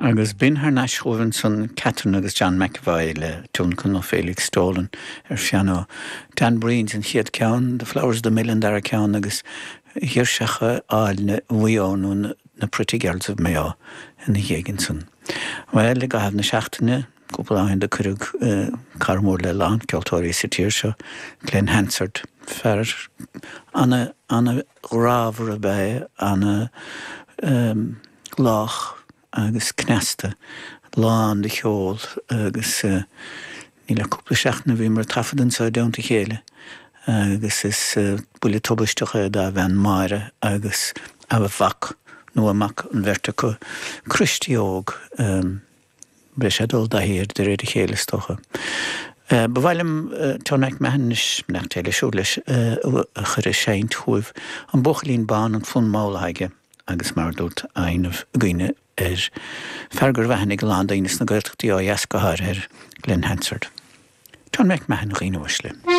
Agus b'in thar n-ais chugaibh ansan Catherine agus John McEvoy le tionlacan ó Felix Dolan ar phianó. Dan Breen's an chéad ceann, The Flowers of the Mill an dara ceann agus Girseacha Áille Mhaigh Eo nó na Pretty Girls of Mayo ina dhiaidh ansan. Bhuel, i gcaitheamh na seachtaine, cúpla lá ó shin do cuireadh cara mór le a lán ceoltóirí sa tír seo, Glen Hansard, fear ana, ana ghrámhar ab ea é, ana lách agus cneasta, lán de cheol agus níl ach cúpla seachtain a bhíomar ag taifead anseo i dteannta a chéile agus is buille tubaisteach é dá bhean Máire agus a mhac, nó a mac, an bheirt acu, Christy óg. Beidh sé ag dul i dtaithí air de réir a chéile is dócha. Ba mhaith liom Tony McMahon anois, beannacht Dé leis siúd leis, a chur ag seinnt chugaibh. An Buachaillín Bán, an fonn mall atá aige agus mar a dúrt aithne againne air, fear go raibh aithne ag a lán daoine sna Gaeltachtaí ó dheas go háirithe air, Glen Hansard. Tony McMahon, a dhaoine uaisle.